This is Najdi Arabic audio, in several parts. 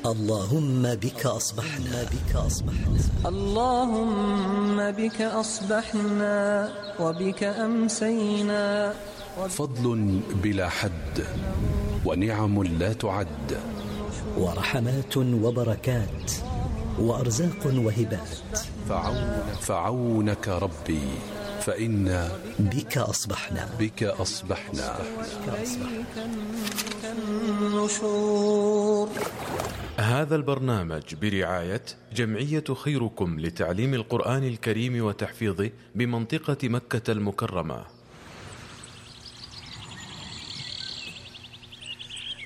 اللهم بك أصبحنا اللهم بك أصبحنا وبك أمسينا. فضل بلا حد ونعم لا تعد، ورحمات وبركات وأرزاق وهبات. فعونك ربي فإنا بك أصبحنا النشور. هذا البرنامج برعاية جمعية خيركم لتعليم القرآن الكريم وتحفيظه بمنطقة مكة المكرمة.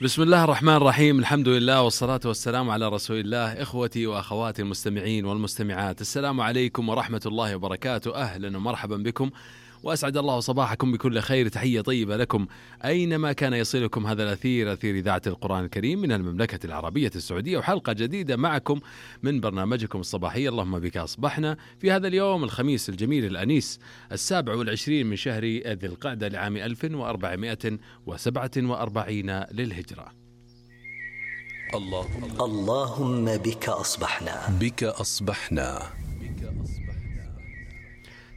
بسم الله الرحمن الرحيم، الحمد لله والصلاة والسلام على رسول الله. إخوتي وأخواتي المستمعين والمستمعات، السلام عليكم ورحمة الله وبركاته. أهلا ومرحبا بكم، وأسعد الله صباحكم بكل خير. تحية طيبة لكم أينما كان يصلكم هذا الأثير، أثير إذاعة القرآن الكريم من المملكة العربية السعودية، وحلقة جديدة معكم من برنامجكم الصباحي اللهم بك أصبحنا، في هذا اليوم الخميس الجميل الأنيس 27 من شهر ذي القعدة لعام 1447 للهجرة. اللهم بك أصبحنا.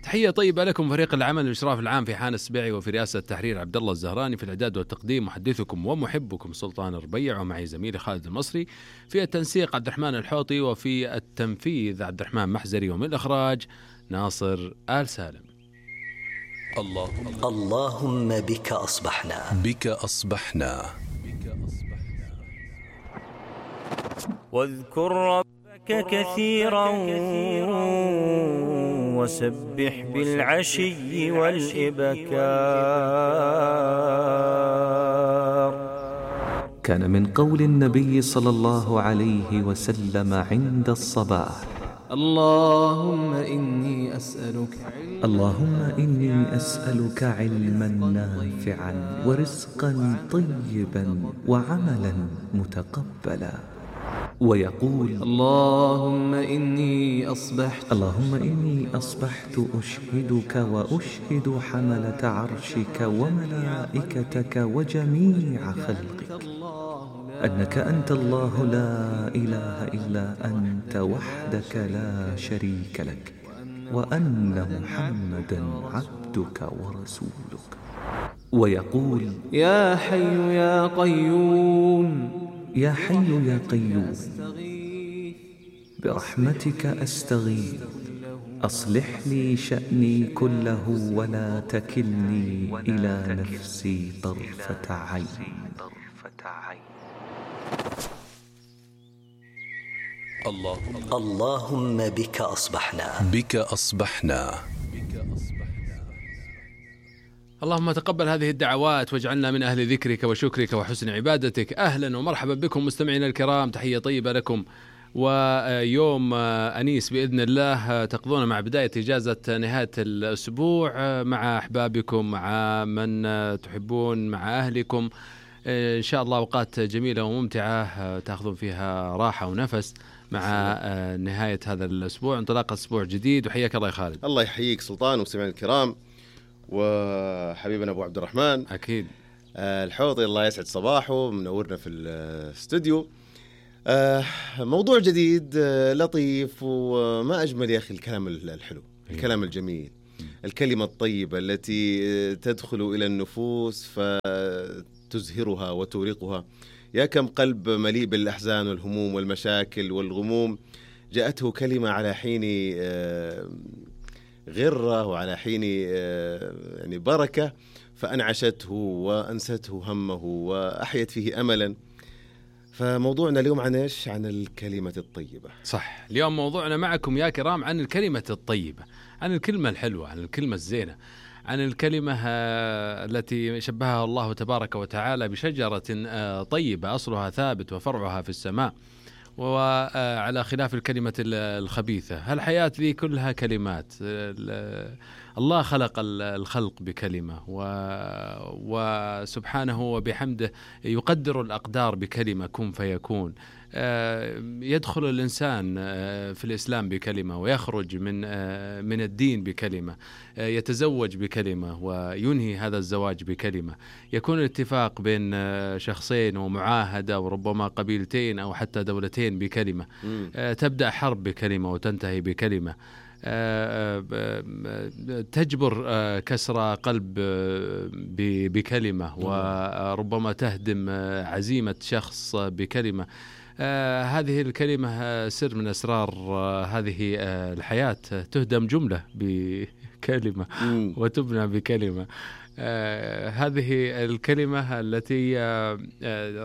تحية طيبة لكم فريق العمل الإشراف العام في حان السبيعي، وفي رئاسة التحرير عبد الله الزهراني، في الإعداد والتقديم محدثكم ومحبكم سلطان الربيع، ومعي زميلي خالد المصري، في التنسيق عبد الرحمن الحوطي، وفي التنفيذ عبد الرحمن محزري، ومن الإخراج ناصر آل سالم. اللهم بك أصبحنا. واذكر ربك كثيرا وسبح بالعشي والإبكار. كان من قول النبي صلى الله عليه وسلم عند الصباح: اللهم إني أسألك علما نافعا ورزقا طيبا وعملا متقبلا. ويقول: اللهم إني أصبحت أشهدك وأشهد حملة عرشك وملائكتك وجميع خلقك أنك أنت الله لا إله إلا أنت وحدك لا شريك لك، وأن محمدا عبدك ورسولك. ويقول: يا حي يا قيوم برحمتك أستغيث، أصلح لي شأني كله ولا تكلني إلى نفسي طرفة عين. اللهم بك أصبحنا. اللهم تقبل هذه الدعوات واجعلنا من أهل ذكرك وشكرك وحسن عبادتك. أهلا ومرحبا بكم مستمعينا الكرام، تحية طيبة لكم، ويوم أنيس بإذن الله تقضون مع بداية إجازة نهاية الأسبوع مع أحبابكم، مع من تحبون، مع أهلكم، إن شاء الله أوقات جميلة وممتعة تأخذون فيها راحة ونفس مع نهاية هذا الأسبوع، انطلاق أسبوع جديد. وحياك الله يا خالد. الله يحييك سلطان ومستمعينا الكرام، وحبيبنا أبو عبد الرحمن أكيد الحوطي، الله يسعد صباحه، منورنا في الاستوديو. موضوع جديد لطيف، وما أجمل يا أخي الكلام الحلو، الكلام الجميل، الكلمة الطيبة التي تدخل إلى النفوس فتزهرها وتورقها. يا كم قلب مليء بالأحزان والهموم والمشاكل والغموم جاءته كلمة على حين غرة وعلى حين يعني بركة، فأنعشته وأنسته همه وأحيت فيه أملا. فموضوعنا اليوم عن إيش؟ عن الكلمة الطيبة. صح، اليوم موضوعنا معكم يا كرام عن الكلمة الطيبة، عن الكلمة الحلوة، عن الكلمة الزينة، عن الكلمة التي شبهها الله تبارك وتعالى بشجرة طيبة أصلها ثابت وفرعها في السماء، وعلى خلاف الكلمة الخبيثة. هالحياة ذي كلها كلمات، الله خلق الخلق بكلمة، وسبحانه وبحمده يقدر الأقدار بكلمة كن فيكون. يدخل الإنسان في الإسلام بكلمة، ويخرج من الدين بكلمة، يتزوج بكلمة وينهي هذا الزواج بكلمة، يكون الاتفاق بين شخصين ومعاهدة وربما قبيلتين أو حتى دولتين بكلمة، تبدأ حرب بكلمة وتنتهي بكلمة، تجبر كسر قلب بكلمة، وربما تهدم عزيمة شخص بكلمة. هذه الكلمة سر من أسرار هذه الحياة، تهدم جملة بكلمة وتبنى بكلمة. هذه الكلمة التي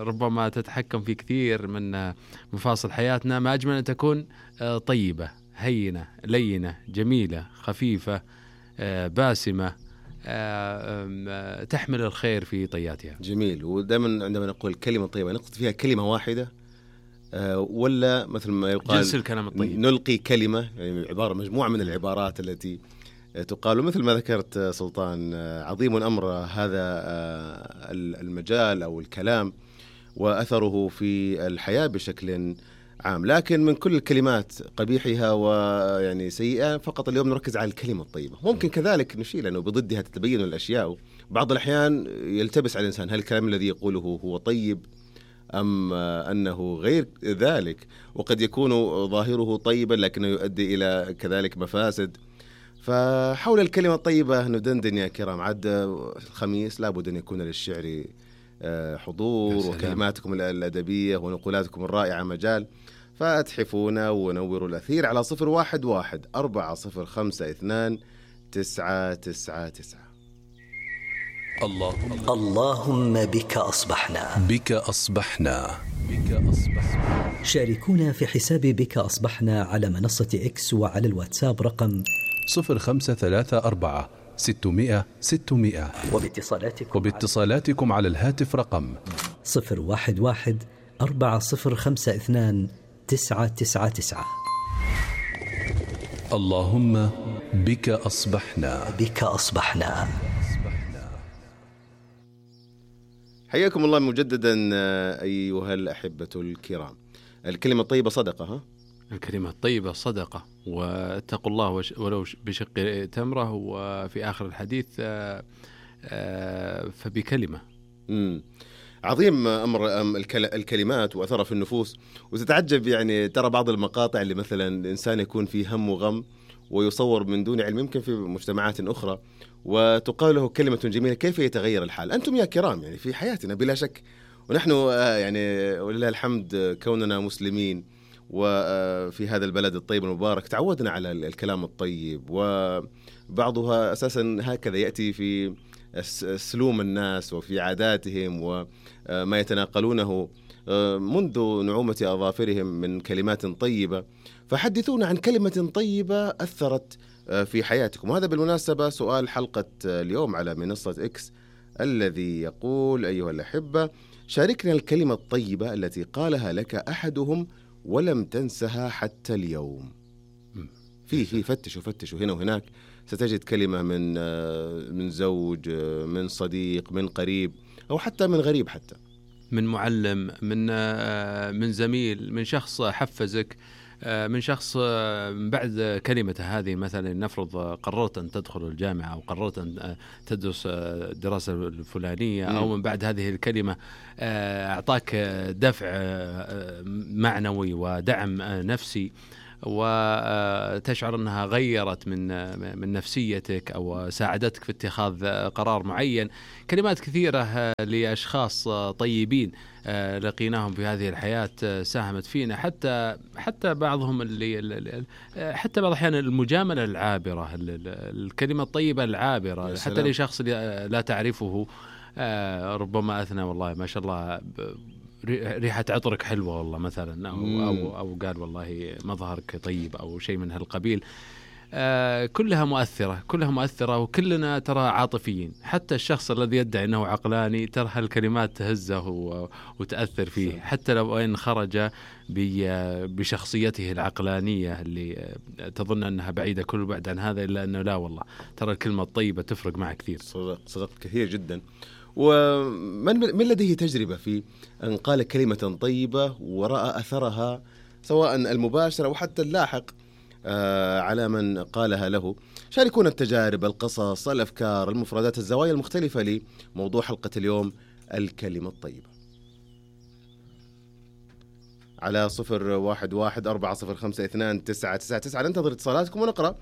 ربما تتحكم في كثير من مفاصل حياتنا. ما أجمل أن تكون طيبة، هينة، لينة، جميلة، خفيفة، باسمة، تحمل الخير في طياتها. جميل. ودائما عندما نقول كلمة طيبة نقصد فيها كلمة واحدة، ولا مثل ما يقال جنس الكلام الطيب، نلقي كلمة، يعني عبارة مجموعة من العبارات التي تقال. مثل ما ذكرت سلطان، عظيم أمر هذا المجال أو الكلام وأثره في الحياة بشكل عام. لكن من كل الكلمات قبيحها ويعني سيئة، فقط اليوم نركز على الكلمة الطيبة. ممكن كذلك نشيل أنه بضدها تتبين الأشياء. بعض الأحيان يلتبس على الإنسان هل الكلام الذي يقوله هو طيب أم أنه غير ذلك، وقد يكون ظاهره طيبا لكنه يؤدي إلى كذلك مفاسد. فحول الكلمة الطيبة ندندن يا كرام. عد الخميس لابد أن يكون للشعر حضور، وكلماتكم الأدبية ونقولاتكم الرائعة مجال، فأتحفونا ونوروا الأثير على 011-405-29999. اللهم بك أصبحنا. بك أصبحنا. شاركونا في حساب بك أصبحنا على منصة إكس وعلى الواتساب رقم 0534-600-600، وباتصالاتكم على الهاتف رقم 011-405-29999. اللهم بك أصبحنا. بك أصبحنا. حياكم الله مجددا أيها الأحبة الكرام. الكلمة الطيبة صدقة. ها؟ الكلمة الطيبة صدقة، واتقوا الله ولو بشق تمرة، وفي آخر الحديث فبكلمة. عظيم أمر الكلمات وأثرها في النفوس. وتتعجب يعني ترى بعض المقاطع اللي مثلا الإنسان يكون فيه هم وغم ويصور من دون علم، يمكن في مجتمعات أخرى، وتقال له كلمة جميلة كيف يتغير الحال. أنتم يا كرام يعني في حياتنا بلا شك، ونحن يعني ولله الحمد كوننا مسلمين وفي هذا البلد الطيب المبارك تعودنا على الكلام الطيب، وبعضها أساسا هكذا يأتي في سلوم الناس وفي عاداتهم وما يتناقلونه منذ نعومة أظافرهم من كلمات طيبة. فحدثونا عن كلمة طيبة أثرت في حياتكم. وهذا بالمناسبة سؤال حلقة اليوم على منصة إكس الذي يقول: أيها الأحبة، شاركنا الكلمة الطيبة التي قالها لك أحدهم ولم تنسها حتى اليوم. فيه فتشوا هنا وهناك، ستجد كلمة من زوج، من صديق، من قريب، أو حتى من غريب، حتى من معلم، من زميل، من شخص حفزك، من شخص بعد كلمة هذه. مثلا نفرض قررت أن تدخل الجامعة أو قررت أن تدرس الدراسة الفلانية، أو من بعد هذه الكلمة أعطاك دفع معنوي ودعم نفسي، وتشعر أنها غيرت من نفسيتك أو ساعدتك في اتخاذ قرار معين. كلمات كثيرة لأشخاص طيبين لقيناهم في هذه الحياة ساهمت فينا، حتى بعضهم حتى بعض الأحيان المجاملة العابرة، الكلمة الطيبة العابرة، حتى لشخص لا تعرفه، ربما أثنى والله ما شاء الله ريحة عطرك حلوة والله مثلا، أو قال والله مظهرك طيب أو شيء من هالقبيل. كلها مؤثرة وكلنا ترى عاطفيين. حتى الشخص الذي يدعي أنه عقلاني ترى هالكلمات تهزه وتأثر فيه، حتى لو أن خرج بشخصيته العقلانية اللي تظن أنها بعيدة كل بعد عن هذا، إلا أنه لا والله ترى الكلمة الطيبة تفرق معه كثير. صدقت كثير جدا. ومن لديه تجربة في أن قال كلمة طيبة ورأى أثرها سواء المباشر أو حتى اللاحق على من قالها له؟ شاركونا التجارب، القصص، الأفكار، المفردات، الزوايا المختلفة لموضوع حلقة اليوم، الكلمة الطيبة، على 0114052999. ننتظر اتصالاتكم ونقرأ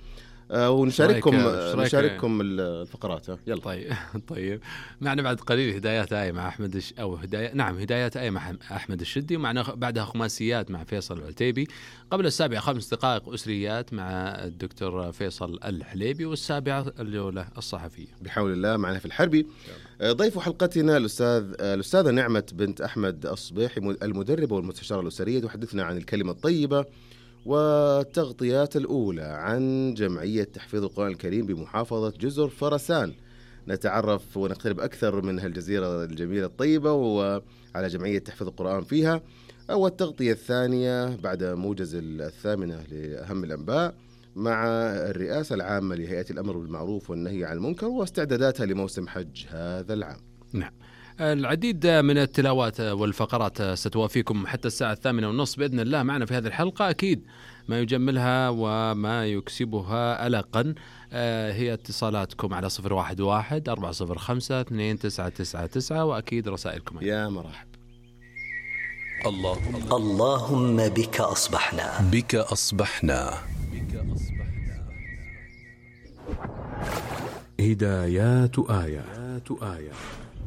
ونشارككم الفقرات. يلا. طيب معنا بعد قليل هدايات آية مع هدايات آية مع أحمد الشدي، ومعنا بعدها خماسيات مع فيصل العتيبي. قبل 7 5 دقائق أسريات مع الدكتور فيصل الحليبي، والسابعة الجولة الصحفية بحول الله معنا في الحربي. ضيف حلقتنا الأستاذة نعمة بنت أحمد الصبيحي، المدربة والمستشارة الأسرية، تحدثنا عن الكلمة الطيبة والتغطيات الأولى عن جمعية تحفيظ القرآن الكريم بمحافظة جزر فرسان. نتعرف ونقترب أكثر من هالجزيرة الجميلة الطيبة وعلى جمعية تحفيظ القرآن فيها. والتغطية الثانية بعد موجز 8 لأهم الأنباء مع الرئاسة العامة لهيئة الأمر بالمعروف والنهي عن المنكر واستعداداتها لموسم حج هذا العام. نعم، العديد من التلاوات والفقرات ستوافيكم حتى الساعة 8:30 بإذن الله. معنا في هذه الحلقة أكيد ما يجملها وما يكسبها ألقا هي اتصالاتكم على 011-405-2999 وأكيد رسائلكم. يا مرحب. اللهم بك أصبحنا. هدايات آية.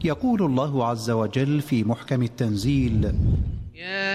يقول الله عز وجل في محكم التنزيل: يا